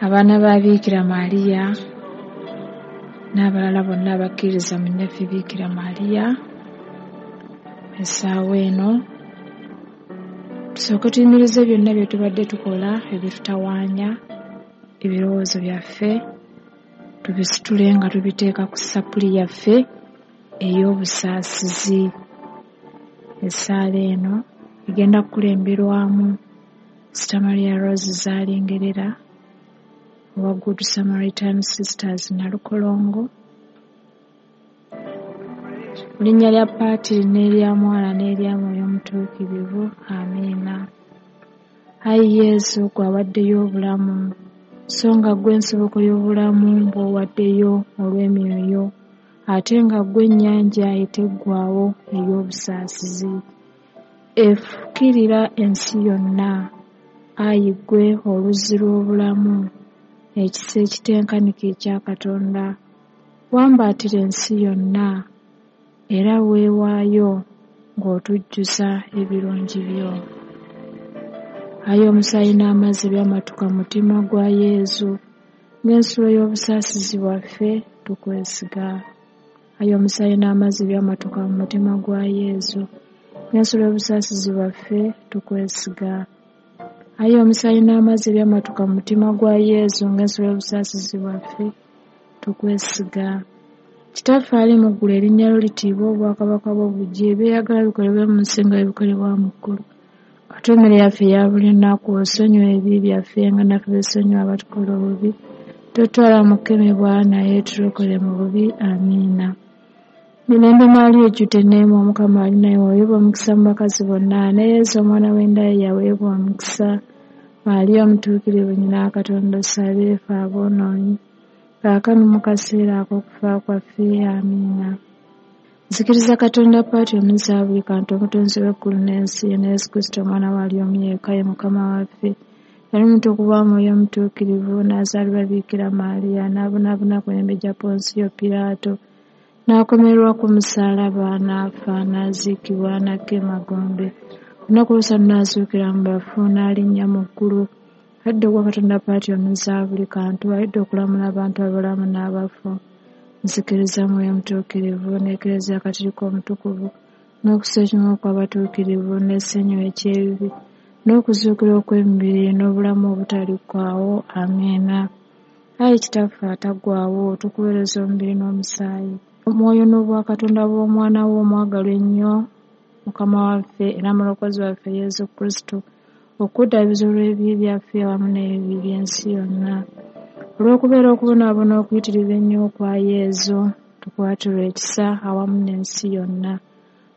Abaana ba Biikira Maria n'abalala bonna abakkiririza mu nnyaffe Biikira Maria, essaawa eno tusooke tuyimirize byonna bye tubadde tukola ebitutawaanya, ebirowoozo byaffe tubisitule nga tubiteeka ku ssapuli yaffe ey'obusaasizi. Essaala eno egenda kukulemberwamu Sita Maria Rose Zaalingerera owa Good Samaritan Sisters Nalukolongo. Mu linnya lya Paatiri n'erya Mwana n'erya Mwoyo Mutuukirivu, amiina. Ayi Yesu, ggwe awaddeyo obulamu, so nga ggwe ensibuko y'obulamu bw'owaddeyo olw'emyoyo, ate nga ggwe ennyanja eteggwaawo ey'obusaasizi, efukirira ensi yonna. Ayi ggwe oluzzi lw'obulamu, ekisa ekitenkanika ekya Katonda, wambaatira ensi yonna, era weewaayo ng'otujjuza ebirungi byo. Ayi omusaayi n'amazzi ebyamatuka mu mutima gwa Yesu, ng'ensulo y'obusaasizi bwaffe, tukwesiga. Ayi omusaayi n'amazzi ebyamatuka mu mutima gwa Yesu, ng'ensulo y'obusaasizi bwaffe, tukwesiga. Ayi omusaayi n'amazzi ebyamatuka mu mutima gwa Yesu, ng'ensulo y'obusaasizi bwaffe, tukwesiga. Kitaffe ali mu ggulu, erinnya lyo litiibwe, obwakabaka bwo bujje, eby'oyagala bikolebwe mu nsi nga bwe bikolebwa mu ggulu. Otuwe emmere yaffe eya buli lunaku, osonyiwe ebibi byaffe nga naffe bwe tusonyiwa abatukola obubi. Totutwala mu kukemebwa, naye tulokole mu bubi. Amiina. Mirembe Maria ojjudde enneema, Omukama ali nawe, waweebwa omukisa mu bakazi bonna, ne Yesu omwana w'enda ye yaweebwa omukisa. Maria omutuukirivu nnyina wa Katonda, osabire ffe aboonoonyi, kaakano mu kaseera ak'okufa kwaffe. Amiina. Nzikiriza Katonda Paatiri Omuyinza wa buli kantu, Omutonzi w'eggulu n'ensi, ne Yesu Kristo Omwana we ali omu yekka, ye Mukama waffe. Yali mutukuvu wa Mwoyo Mutuukirivu, n'azaalibwa Biikira Maria, n'abonaabona ku mirembe gya Ponsiyo Piraato, n'akomererwa ku musaalaba, n'afa, n'aziikibwa, n'akka emagombe. Olunaku olwokusatu n'azuukira mu bafu, n'alinnya mu ggulu, adda okwa Katonda Paatiri Omuyinza wa buli kantu, alidda okulamula abantu abalamu n'abafu. Nzikiriza Mwoyo Mutuukirivu, n'Ekereziya Katolika Omutukuvu, n'okussa ekimu okw'abatuukirivu, n'essanyu eky'ebibi, n'okuzuukira okw'emibiri, n'obulamu obutaliggwaawo. Amiina. Ayi Kitaffe ataggwaawo, tukuweereza omubiri n'omusaayi, omwoyo n'obwakatonda bw'Omwana wo omwagalwa ennyo, Mukama waffe era Mulokozi waffe Yesu Kristo, okuddaabiriza olw'ebibi byaffe awamu n'ebibi by'ensi yonna. Olw'okubeera okubonaabona okuyitirivu ennyo okwa Yesu, tukwatirwe ekisa awamu n'ensi yonna.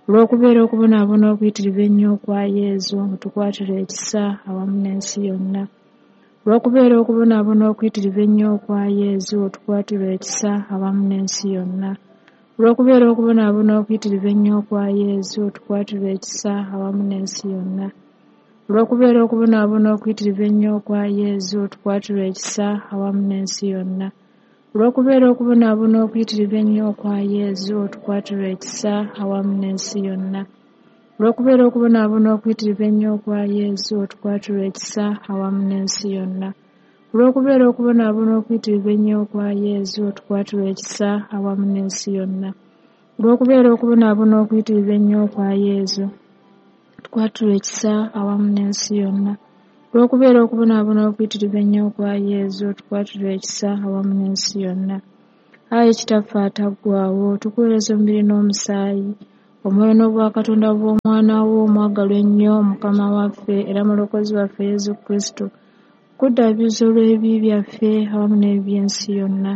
Olw'okubeera okubonaabona okuyitirivu ennyo okwa Yesu, tukwatirwe ekisa awamu n'ensi yonna. Olw'okubeera okubonaabona okuyitirivu ennyo okwa Yesu, tukwatirwe ekisa awamu n'ensi yonna. Olw'okubeera okubonaabona okuyitirivu ennyo okwa Yesu, tukwatirwe ekisa awamu n'ensi yonna. Olw'okubeera okubonaabona okuyitirivu ennyo okwa Yesu, tukwatirwe ekisa awamu n'ensi yonna. Olw'okubeera okubonaabona okuyitirivu ennyo okwa Yesu, tukwatirwe ekisa awamu n'ensi yonna. Olw'okubeera okubonaabona okuyitirivu ennyo okwa Yesu, tukwatirwe ekisa awamu n'ensi yonna. Olw'okubeera okubonaabona okuyitirivu ennyo okwa Yesu, tukwatirwe ekisa awamu n'ensi yonna. Olw'okubeera okubonaabona okuyitirivu ennyo okwa Yesu, tukwatirwe ekisa awamu n'ensi yonna. Olw'okubeera okubonaabona okuyitirivu ennyo okwa Yesu, tukwatirwe ekisa awamu n'ensi yonna. Ayi Kitaffe ataggwaawo, tukuweereza omubiri n'omusaayi, omwoyo n'obwakatonda bw'Omwana wo omwagalwa ennyo, Mukama waffe era Mulokozi waffe Yesu Kristo, okuddaabiriza olw'ebibi byaffe awamu n'ebibi by'ensi yonna.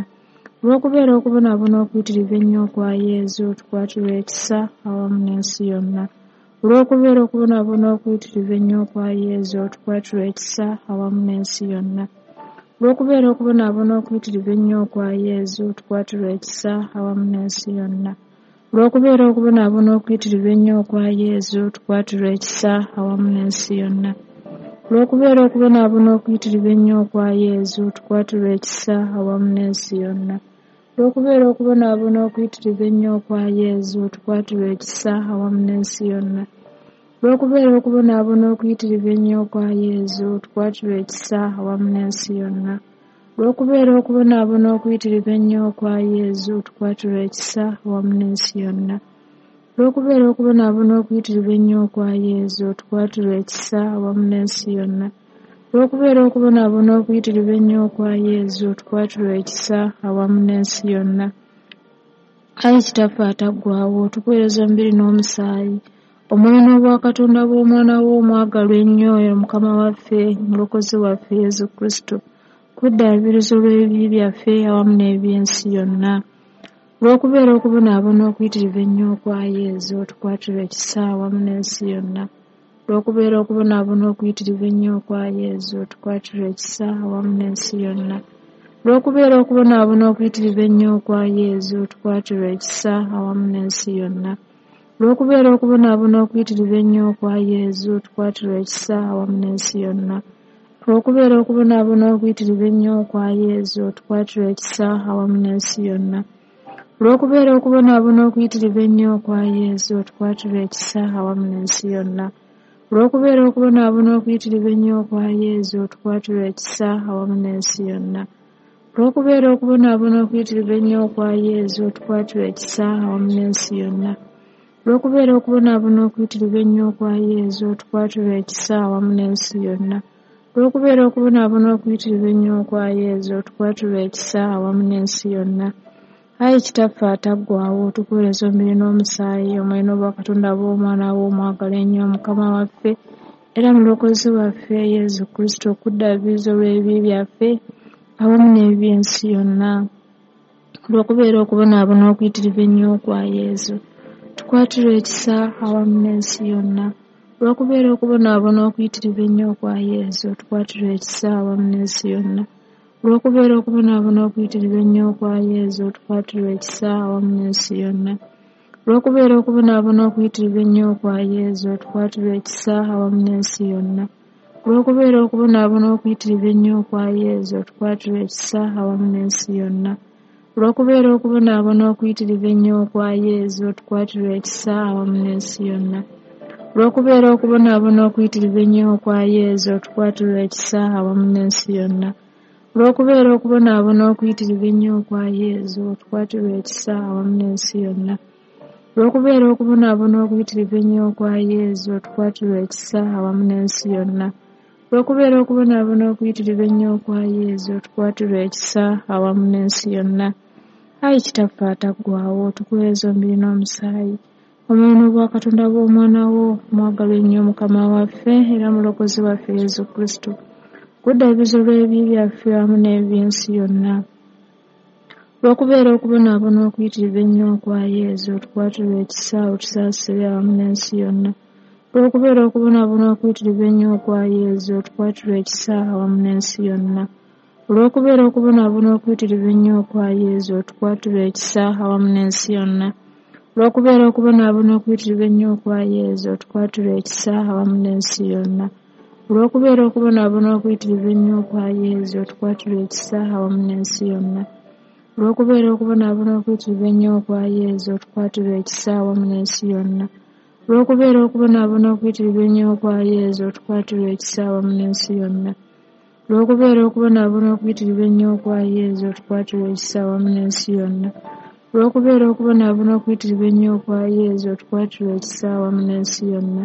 Olw'okubeera okubonaabona okuyitirivu ennyo okwa Yesu, tukwatirwe ekisa awamu n'ensi yonna. Olw'okubeera okubonaabona okuyitirivu ennyo okwa Yesu, tukwatirwe ekisa awamu n'ensi yonna. Olw'okubeera okubonaabona okuyitirivu ennyo okwa Yesu, tukwatirwe ekisa awamu n'ensi yonna. Olw'okubeera okubonaabona okuyitirivu ennyo okwa Yesu, tukwatirwe ekisa awamu n'ensi yonna. Olw'okubeera okubonaabona okuyitirivu ennyo okwa Yesu, tukwatirwe ekisa awamu n'ensi yonna. Olw'okubeera okubonaabona okuyitirivu ennyo okwa Yesu, tukwatirwe ekisa awamu n'ensi yonna. Olw'okubeera okubonaabona okuyitirivu ennyo okwa Yesu, tukwatirwe ekisa awamu n'ensi yonna. Olw'okubeera okubonaabona okuyitirivu ennyo okwa Yezu, otukwatirwe ekisa awamu n'ensi yonna. Olw'okubeera okubonaabona okuyitirivu ennyo okwa Yezu, otukwatirwe ekisa awamu n'ensi yonna. Olw'okubeera okubonaabona okuyitirivu ennyo okwa Yezu, otukwatirwe ekisa awamu n'ensi yonna. Ayi Kitaffe ataggwaawo, tukuweereza omubiri n'omusaayi, omwoyo n'obwakatonda bw'Omwana wo omwagalwa ennyo, Mukama waffe, Omulokozi waffe Yezu Kristo, kweddaabiriza olw'ebibi byaffe awamu n'eby'ensi yonna. Olw'okubeera okubonaabona okuyitirivu ennyo okwa Yezu, otukwatirwe ekisa awamu n'ensi yonna. Olw'okubeera okubonaabona okuyitirivu ennyo okwa Yezu, otukwatirwe ekisa awamu n'ensi yonna. Olw'okubeera okubonaabona okuyitirivu ennyo okwa Yezu, otukwatirwe ekisa awamu n'ensi yonna. Olw'okubeera okubonaabona okuyitirivu ennyo okwa Yezu, otukwatirwe ekisa awamu n'ensi yonna. Olw'okubeera okubonaabona okuyitirivu ennyo okwa Yezu, otukwatirwe ekisa awamu n'ensi yonna. Olw'okubeera okubonaabona okuyitirivu ennyo okwa Yezu, otukwatirwe ekisa awamu n'ensi yonna. Olw'okubeera okubonaabona okuyitirivu ennyo okwa Yezu, otukwatirwe ekisa awamu n'ensi yonna. Olw'okubeera okubonaabona okuyitirivu ennyo okwa Yezu, otukwatirwe ekisa awamu n'ensi yonna. Olw'okubeera okubonaabona okuyitirivu ennyo okwa Yezu, otukwatirwe ekisa awamu n'ensi yonna. Olw'okubeera okubonaabona okuyitirivu ennyo okwa Yezu, otukwatirwe ekisa awamu n'ensi yonna. Ayi Kitaffe ataggwaawo, tukuweereza omubiri n'omusaayi, omwoyo n'obwakatonda bw'Omwana wo omwagalwa ennyo, Mukama waffe era Mulokozi waffe Yezu Kristo, okuddaabiriza olw'ebibi byaffe awamu n'eby'ensi yonna. Olw'okubeera okubonaabona okuyitirivu ennyo okwa Yezu, tukwatirwe ekisa awamu n'ensi yonna. Olw'okubeera okubonaabona okuyitirivu ennyo okwa Yezu, tukwatirwe ekisa awamu n'ensi yonna. Olw'okubeera okubonaabona okuyitirivu ennyo okwa Yezu, otukwatirwe ekisa awamu n'ensi yonna. Olw'okubeera okubonaabona okuyitirivu ennyo okwa Yezu, otukwatirwe ekisa awamu n'ensi yonna. Olw'okubeera okubonaabona okuyitirivu ennyo okwa Yezu, otukwatirwe ekisa awamu n'ensi yonna. Olw'okubeera okubonaabona okuyitirivu ennyo okwa Yezu, otukwatirwe ekisa awamu n'ensi yonna. Olw'okubeera okubonaabona okuyitirivu ennyo okwa Yezu, otukwatirwe ekisa awamu n'ensi yonna. Olw'okubeera okubonaabona okuyitirivu ennyo okwa Yezu, otukwatirwe ekisa awamu n'ensi yonna. Olw'okubeera okubonaabona okuyitirivu ennyo okwa Yezu, otukwatirwe ekisa awamu n'ensi yonna. Olw'okubeera okubonaabona okuyitirivu ennyo okwa Yezu, otukwatirwe ekisa awamu n'ensi yonna. Ayi Kitaffe ataggwaawo, tukuweereza omubiri n'omusaayi, omwoyo n'obwakatonda bw'Omwana wo omwagalwa ennyo, Mukama waffe era Mulokozi waffe Yezu Kristo, kuddaabiriza olw'ebibi byaffe awamu n'eby'ensi yonna. Olw'okubeera okubonaabona okuyitirivu ennyo okwa Yezu, otukwatirwe ekisa, otusaasire awamu n'ensi yonna. Olw'okubeera okubonaabona okuyitirivu ennyo okwa Yezu, otukwatirwe ekisa awamu n'ensi yonna. Olw'okubeera okubonaabona okuyitirivu ennyo okwa Yezu, otukwatirwe ekisa awamu n'ensi yonna. Olw'okubeera okubonaabona okuyitirivu ennyo okwa Yezu, otukwatirwe ekisa awamu n'ensi yonna. Olw'okubeera okubonaabona okuyitirivu ennyo okwa Yezu, otukwatirwe ekisa awamu n'ensi yonna. Olw'okubeera okubonaabona okuyitirivu ennyo okwa Yezu, otukwatirwe ekisa awamu n'ensi yonna. Olw'okubeera okubonaabona okuyitirivu ennyo okwa Yezu, otukwatirwe ekisa awamu n'ensi yonna. Olw'okubeera okubonaabona okuyitirivu ennyo okwa Yezu, otukwatirwe ekisa awamu n'ensi yonna. Olw'okubeera okubonaabona okuyitirivu ennyo okwa Yezu, otukwatirwe ekisa awamu n'ensi yonna.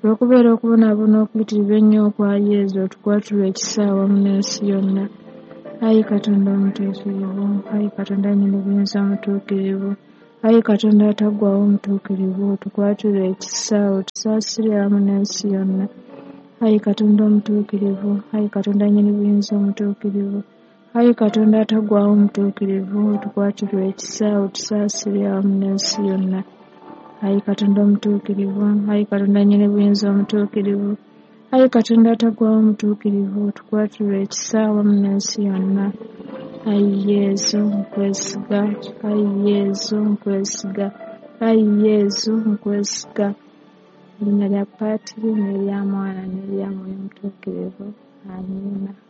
Olw'okubeera okubonaabona okuyitirivu ennyo okwa Yezu, otukwatirwe ekisa awamu n'ensi yonna. Ayi Katonda omutuukirivu, ayi Katonda nnyini buyinza omutuukirivu, ayi Katonda ataggwaawo omutuukirivu, otukwatirwe ekisa, otusaasire awamu n'ensi yonna. Ayi Katonda omutuukirivu, ayi Katonda nnyini buyinza omutuukirivu, ayi Katonda ataggwaawo omutuukirivu, otukwatirwe ekisa, otusaasire awamu n'ensi yonna. Ayi Katonda omutuukirivu, ayi Katonda nnyini buyinza omutuukirivu, ayi Katonda ataggwaawo omutuukirivu, otukwatirwe ekisa awamu n'ensi yonna. Ayi Yezu, nkwesiga, ayi Yezu, nkwesiga, ayi Yezu, nkwesiga. Erinnya lya Patri n'erya Mwana n'erya Mwoyo Mutuukirivu. Amiina.